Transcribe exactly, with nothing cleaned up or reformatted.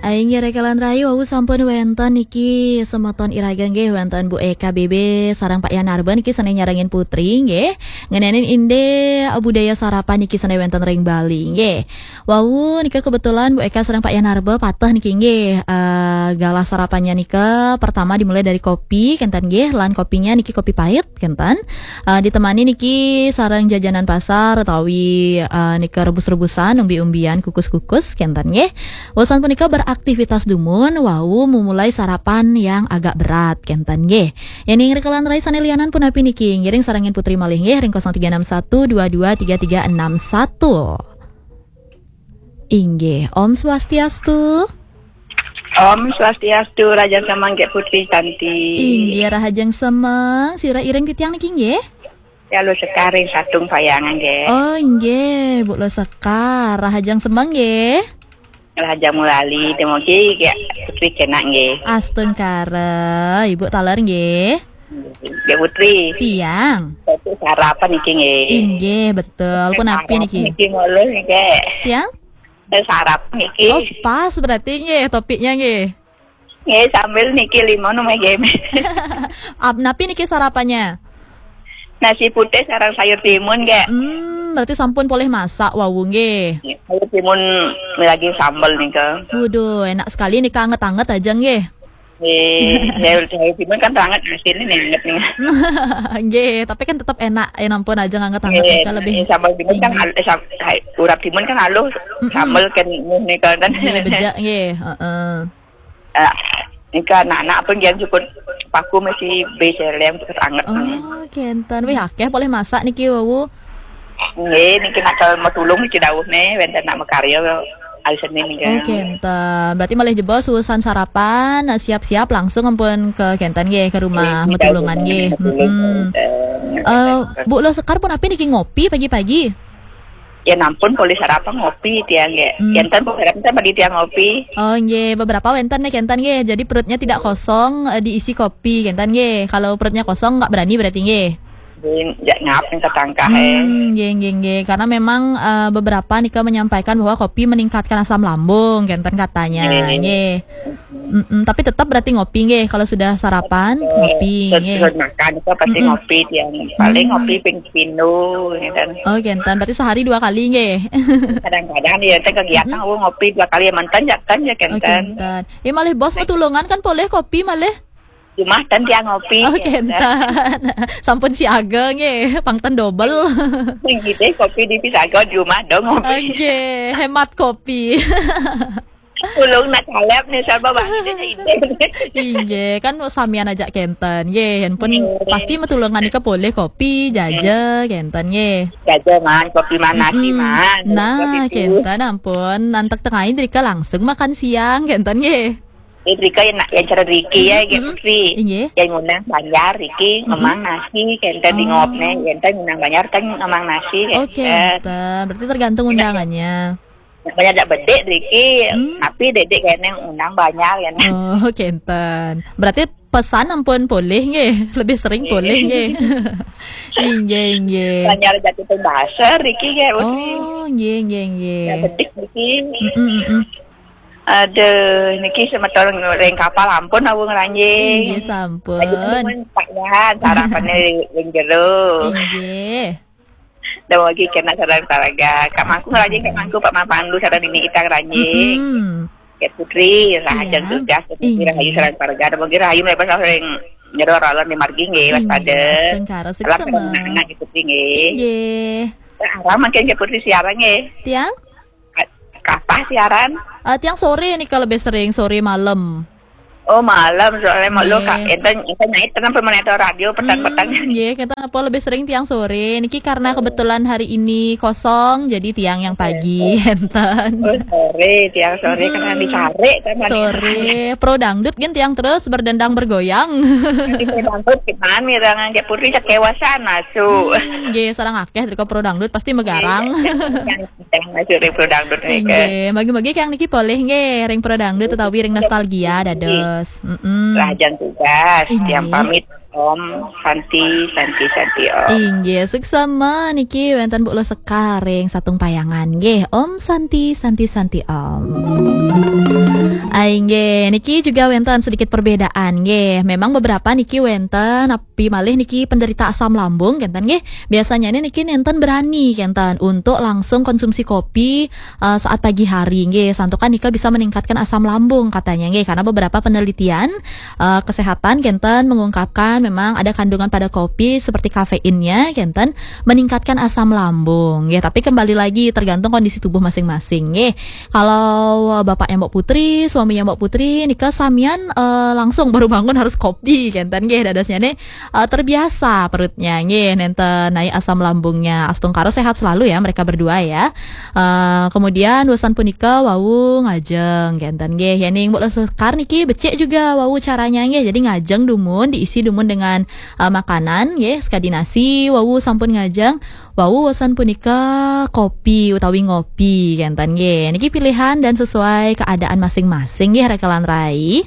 Inggih, rekan-rekan rahayu, wau sampun wénten niki semeton iraga nggih, wénten Bu Eka B B sareng Pak Yanarba niki sané nyarengin Putri nggih. Ngenénin indik budaya sarapan niki sané wénten ring Bali nggih. Wau nika kebetulan Bu Eka sareng Pak Yanarba pateh niki nggih. Eh, galah sarapannya nika pertama dimulai dari kopi kénten nggih, lan kopinya niki kopi pahit kénten. Eh, ditemani niki sareng jajanan pasar utawi eh, nika rebus-rebusan, umbi-umbian, kukus-kukus kénten nggih. Wusan punika beraktivitas dumun, wau memulai sarapan yang agak berat kénten nggih. Yéning rekan-rekan rahayu sané lianan punapi niki, ngiring sarengin Putri malih nggih ring kosong tiga enam satu dua dua tiga tiga enam satu. Inggih, Om Swastiastu. Om Swastiastu, rahajeng semeng Gék Putri Tanti. Inggih, rahajeng semeng, sira iring titiang niki nggih? Ya, Luh Sekar ring Satung Payangan nggih. Oh, inggih, Bu Luh Sekar, rahajeng semeng nggih. Rahajeng mulali, temogi Gék Putri kenak nggih. Astungkara, Ibu taler nggih. Gék Putri. Tiang. Satu sarapan niki nggih. Inggih, betul. Punapi niki? Sarapan niki ngolih nggih. Tiang? Eh, sarapan niki. Oh, pas berarti nggih topiknya nggih. Nggih, sambil niki limun nggih. Ap-, napi niki sarapannya? Nasi putih sareng sayur timun nggih. Hmm, berarti sampun polih masak wau nggih. Sayur timun lagi sambel nika. Waduh, enak sekali nika, anget-anget aja nggih. Nggih, sayur, sayur timun kan anget hasilnya nih, anget nih. Nggih, tapi kan tetap enak, ya ampun aja anget-anget nika lebih. Nggih, sambal timun kan inggih. Al-, eh, sam-, hai, urap timun kan halus, mm-mm. Sambal kan nih kan. Nggih, bejak nggih, heeh. Eh, nika anak-anak pun jangan cukup paku masih bisa lem cukup anget nih. Oh, kénten. Wih, akéh polih masak niki wau. Nggih, niki nak matulung niki dawuh nih, wénten nak makarya hari Senin niki. Oh, kénten. Berarti malih jebos urusan sarapan, siap-siap langsung ampun ke kénten nggih, ke rumah nggih, matulungan nggih. Matulung, mm-mm. Kénten. Eh, Bu Luh Sekar punapi niki ngopi pagi-pagi? Ya ampun, polih sarapan ngopi tiang nggih. Hmm. Kénten polih sarapan sama di tiang ngopi. Oh, nggih, beberapa wénten nih kénten nggih. Jadi perutnya tidak kosong, eh, diisi kopi kénten nggih. Kalau perutnya kosong nggak berani berarti nggih. Nggih, ya ngap nih ketangkah, eh. Hmm, nggih, nggih, nggih. Karena memang, eh, beberapa nika menyampaikan bahwa kopi meningkatkan asam lambung, kénten katanya, nggih. Nggih. Mm-mm, tapi tetap berarti ngopi nggih, kalau sudah sarapan, eh, ngopi, sed-, nggih. Sed makan itu pasti mm-mm. Ngopi tiang. Paling hmm. Ngopi ping pindho, ya kan. Oh, kénten. Berarti sehari dua kali nggih. Kadang-kadang ya, teh kegiatan mm-mm. Aku ngopi dua kali, ya mantan ya kan ya, oh, kénten. Kénten. Ya malih bos matulungan kan polih kopi malih. Cuma ten tiang ngopi. Oh, ya, kénten. Sampun siaga nggih, pang ten double. Sing ide kopi di pisaga di rumah dong ngopi. Nggih, hemat kopi. Ulung nak caleb nih, sama bang ide ide. Inggih, kan samian aja kénten. Nggih, yen pun nggih. Pasti matulungan nika polih kopi, jaja, kénten nggih. Jaja man, kopi man, nasi mm-mm. Man. Nah, terus itu. Kénten ampun, nantek tengahin drika langsung makan siang, kénten nggih. Ini Rika yang nak, yang cara Riki ya, mm-mm. Kayak Putri. Inggih. Yang ngundang banjar, Riki, mm-mm. Ngemang nasi, kénten di ngop nih, oh. Kénten ngundang banjar, kan ngemang nasi, oh, kénten. Kénten. Berarti tergantung undangannya. Banyak dak bedik, Riki, hmm? Tapi dedek kene undang banjar, ya. Oh, kénten. Berarti pesan ampun polih, nggih. Lebih sering polih, nggih. Inggih, inggih. Banjar jatuh bahasa, Riki, kayak Putri. Oh, nggih, nggih, nggih. Ya, bedik, Riki. Mm-mm, mm-mm. Aduh, niki semeton ring kapal ampun awu ngranjing. Inggih sampun. Aja temen Pak Yan, sarapane ring jero. Inggih. Dah lagi kena sareng taraga. Kak Mangku ngranjing, Kak Mangku, Pak Mapandu, sareng Nini Ita ngranjing. Mm-mm. Kak Putri, rahayu tugas, Kak Putri, inggih. Rahayu sareng taraga. Dah lagi rahayu melepas ring jero ralan di margi nggih, waspada. Inggih, astungkara, salam suksema. Anak-anak Kak Putri nggih. Inggih. Aram mangkin Kak Putri siaran nggih. Tiang? Kapah siaran? Eh, tiang sore nih kalau lebih sering, sore malam. Oh, malam soalnya mau lo, Kak. Nggih. Enten, enten nyait tenang pemonitor radio petang-petang. Hmm, nggih, kita apa lebih sering tiang sore. Niki karena kebetulan hari ini kosong, jadi tiang yang pagi, enten. Oh, sore, tiang sore karena dicari kan. Sore, pro dangdut kan tiang terus berdendang bergoyang. Di pro dangdut gimana nih, dengan Kak Putri kekewasan masuk. Hmm, nggih, sareng akeh dari pro dangdut pasti megarang. Iya. Yang masuk ring pro dangdut nika. Nggih, bagi-bagi yang niki polih nggih, ring pro dangdut utawi ring nostalgia dados. Mm-mm. Rahayu tugas, inggih. Tiang pamit, Om Santi, Santi, Santi, Om. Inggih, suksema niki wénten Bu Luh Sekar ring Satung Payangan nggih. Om Santi, Santi, Santi, Om. Inggih, niki juga wénten sedikit perbedaan nggih. Memang beberapa niki wénten, napi malih niki penderita asam lambung kénten nggih. Biasanya niki nénten berani kénten untuk langsung konsumsi kopi eh, saat pagi hari nggih. Santukan nika bisa meningkatkan asam lambung katanya nggih, karena beberapa penelitian eh, kesehatan kénten mengungkapkan memang ada kandungan pada kopi seperti kafeinnya kénten meningkatkan asam lambung nggih. Tapi kembali lagi tergantung kondisi tubuh masing-masing nggih. Kalau eh, bapaknya Mbok Putri, suaminya Mbok Putri, nika samian eh, langsung baru bangun harus kopi kénten nggih. Dadosnya nih eh, terbiasa perutnya nggih, nénten naik asam lambungnya. Astungkara sehat selalu ya mereka berdua ya. Eh, kemudian wusan punika wau ngajeng kénten nggih. Yéning Mbok Sekar niki becik juga wau caranya nggih. Jadi ngajeng dumun, diisi dumun dengan eh, makanan nggih, sekadi nasi, wau sampun ngajeng. Wau wusan punika kopi utawi ngopi kénten nggih. Niki pilihan dan sesuai keadaan masing-masing nggih, Raka lan Rai.